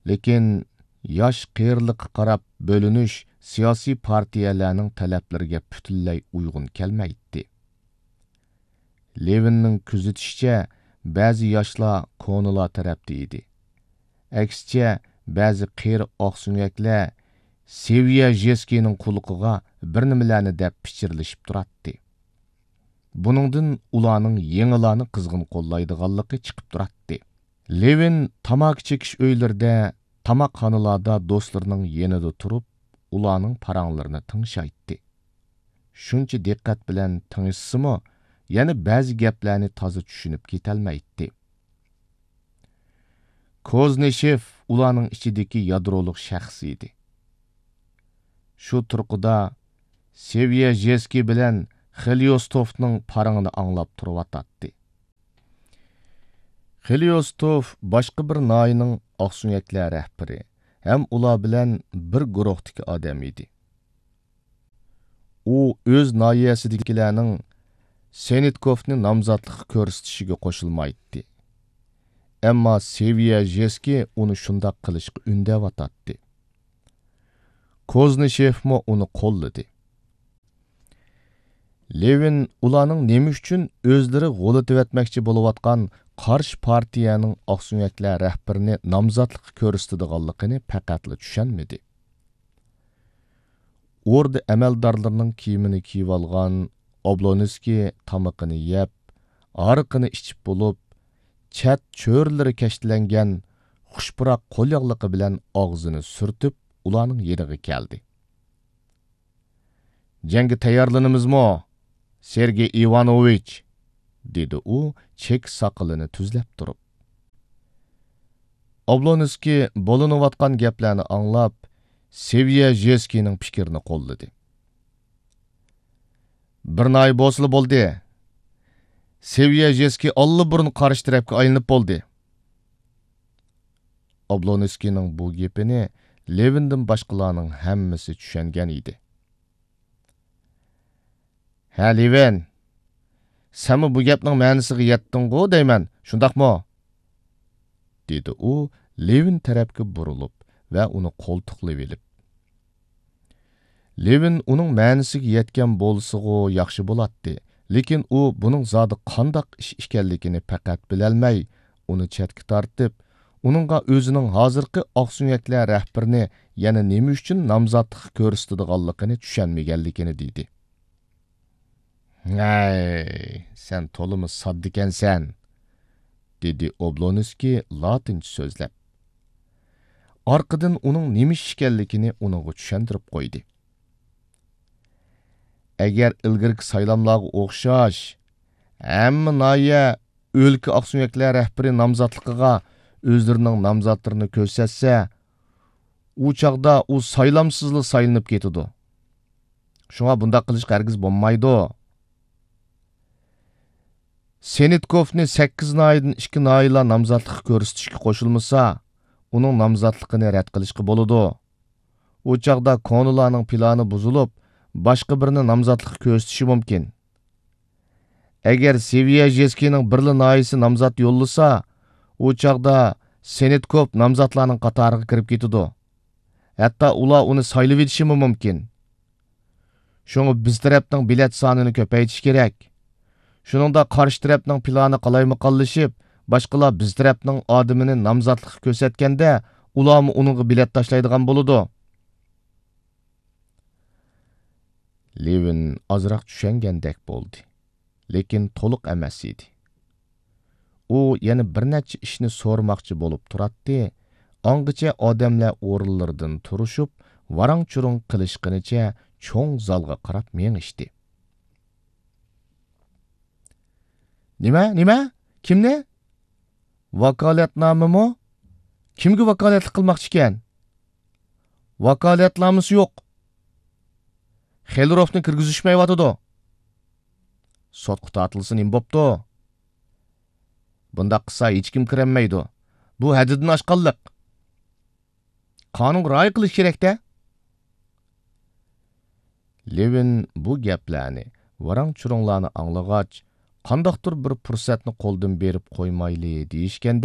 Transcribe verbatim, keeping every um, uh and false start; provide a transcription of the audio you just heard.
لېكىن ياش قېرىلىققا قاراپ بۆلۈنۈش سىياسىي پارتىيەلەرنىڭ تەلەپلىرىگە پۈتۈنلەي ئۇيغۇن كەلمەيتتى. لېۋىننىڭ كۆزىتىشىچە، بەزى ياشلار كونىلار تەرەپتە ئىدى. ئەكسىچە، بەزى قېرى ئاقسۆڭەكلەر سېۋيەژېسكىينىڭ قۇلىقىغا بىر نېمىلەرنى دەپ پىچىرلىشىپ تۇراتتى. بۇنىڭدىن ئۇلارنىڭ يېڭىلارنى قىزغىن قوللايدىغانلىقى چىقىپ تۇراتتى. لېۋىن تاماكا چېكىش ئۆيلىرىدە، تاماقخانىلاردا دوستلىرىنىڭ يېنىدا تۇرۇپ، ئۇلارنىڭ پاراڭلىرىنى تىڭشايتتى. شۇنچە دىققەت بىلەن تىڭشىسىمۇ، يەنە بەزى گەپلەرنى تازا چۈشىنىپ كېتەلمەيتتى. كوزنىشېف ئۇلارنىڭ ئىچىدىكى يادرولۇق شەخس ئىدى. شۇ تۇرقىدا سېۋيەژېسكىي بىلەن خېليوستوفنىڭ پاراڭىنى ئاڭلاپ تۇرۇۋاتاتتى. خېليوستوف باشقا بىر ناھىيەنىڭ ئاقسۆڭەكلەر رەھبىرى ھەم ئۇلار بىلەن بىر گۇرۇھتىكى ئادەم ئىدى. ئۇ ئۆز ناھىيەسىدىكىلەرنىڭ سېنىتكوفنى نامزاتلىققا كۆرسىتىشىگە قوشۇلمايتتى. ئەمما سېۋيەژېسكىي ئۇنى شۇنداق قىلىشقا ئۈندەۋاتاتتى. كوزنىشېفمۇ ئۇنى قوللىدى. لېۋىن ئۇلارنىڭ نېمە ئۈچۈن ئۆزلىرى غۇلىتىۋەتمەكچى بولۇۋاتقان قارشى پارتىيەنىڭ ئاقسۆڭەكلەر رەھبىرىنى نامزاتلىققا كۆرسىتىدىغانلىقىنى پەقەتلا چۈشەنمىدى. ئوردا ئەمەلدارلىرىنىڭ كىيىمىنى كىيىۋالغان ئوبلونسكىي تامىقىنى يەپ، ھارىقىنى ئىچىپ بولۇپ، چەت چۆرىلىرى كەشتىلەنگەن خۇش پۇراق قول ياغلىقى بىلەن ئاغزىنى سۈرتۈپ، ئۇلارنىڭ يېنىغا كەلدى. «جەڭگە تەييارلىنىمىزمۇ، سېرگېي ئىۋانوۋىچ؟» دېدى ئۇ چېكە ساقىلىنى تۈزلەپ تۇرۇپ. ئوبلونسكىي بولۇنۇۋاتقان گەپلەرنى ئاڭلاپ، سېۋيەژېسكىينىڭ پىكرىنى قوللىدى. «بىر ناھىيە بولسىلا بولدى. سېۋيەژېسكىي ئاللىبۇرۇن قارشى تەرەپكە ئايلىنىپ بولدى.» ئوبلونسكىينىڭ بۇ گېپىنى لېۋىندىن باشقىلارنىڭ ھەممىسى چۈشەنگەن ئىدى. «ھە، لېۋىن، سەنمۇ بۇ گەپنىڭ مەنىسىگە يەتتىڭغۇ دەيمەن، شۇنداقمۇ؟» دېدى ئۇ لېۋىن تەرەپكە بۇرۇلۇپ ۋە ئۇنى قولتۇقلىۋېلىپ. لېۋىن ئۇنىڭ مەنىسىگە يەتكەن بولسىغۇ ياخشى بولاتتى، لېكىن ئۇ بۇنىڭ زادى قانداق ئىش ئىكەنلىكىنى پەقەت بىلەلمەي، ئۇنى چەتكە تارتىپ، ئۇنىڭغا ئۆزىنىڭ ھازىرقى ئاقسۆڭەكلەر رەھبىرىنى يەنە نېمە ئۈچۈن نامزاتلىققا كۆرسىتىدىغانلىقىنى چۈشەنمىگەنلىكىنى دېدى. «ھەي، سەن تولىمۇ ساددىكەنسەن!» دېدى ئوبلونسكىي لاتىنچە سۆزلەپ. ئارقىدىن ئۇنىڭ نېمە ئىش ئىكەنلىكىنى ئۇنىڭغا چۈشەندۈرۈپ قويدى. «ئەگەر ئىلگىرىكى سايلاملارغا ئوخشاش، ھەممە ناھىيە ئۆلكە ئاقسۆڭەكلەر رەھبىرى نامزاتلىقىغا ئۆزلىرىنىڭ نامزاتلىرىنى كۆرسەتسە، ئۇ چاغدا ئۇ سايلامسىزلا سايلىنىپ كېتىدۇ. شۇڭا بۇنداق قىلىشقا ھەرگىز بولمايدۇ. سېنىتكوفنى سەككىز ناھىيەدىن ئىككى ناھىيەلا نامزاتلىققا كۆرسىتىشكە قوشۇلمىسا، ئۇنىڭ نامزاتلىقىنى رەت قىلىشقا بولىدۇ. ئۇ چاغدا كونىلارنىڭ پىلانى بۇزۇلۇپ، باشقا بىرىنى نامزاتلىققا كۆرسىتىشى مۇمكىن. ئەگەر سېۋيەژېسكىينىڭ بىرلا ناھىيەسى نامزات يوللىسا، ئۇ چاغدا سېنىتكوف نامزاتلارنىڭ قاتارىغا كىرىپ كېتىدۇ. ھەتتا ئۇلار ئۇنى سايلىۋېتىشىمۇ مۇمكىن. شۇڭا بىز تەرەپنىڭ بېلەت سانىنى كۆپەيتىش كېرەك. شۇنىڭدا قارشى تەرەپنىڭ پىلانى قالايمىقانلىشىپ، باشقىلار بىز تەرەپنىڭ ئادىمىنى نامزاتلىققا كۆرسەتكەندە، ئۇلارمۇ ئۇنىڭغا بېلەت تاشلايدىغان بولىدۇ.» لېۋىن ئازراق چۈشەنگەندەك بولدى، لېكىن تولۇق ئەمەس ئىدى. ئۇ يەنە بىر نەچچە ئىشنى سورىماقچى بولۇپ تۇراتتى، ئاڭغىچە ئادەملەر ئورۇنلىرىدىن تۇرۇشۇپ، ۋاراڭ-چۇرۇڭ قىلىشقىنىچە چوڭ زالغا قاراپ مېڭىشتى. «نېمە، نېمە؟ كىمنى؟ ۋاكالەتنامىمۇ؟ كىمگە ۋاكالەتلىك قىلماقچىكەن؟ ۋاكالەتنامىسى يوق. خېلروفنى كىرگۈزۈشمەيۋاتىدۇ. سوتقا تارتىلسا نېمە بوپتۇ؟ بۇنداق قىلسا ھېچكىم كىرەلمەيدۇ. بۇ ھەددىدىن ئاشقانلىق. قانۇنغا رىئايە قىلىش كېرەك-دە.» لېۋىن بۇ گەپلەرنى، ۋاراڭ-چۇرۇڭلارنى ئاڭلىغاچ، قانداقتۇر بىر پۇرسەتنى قولدىن بېرىپ قويمايلى دېيىشكەندەك،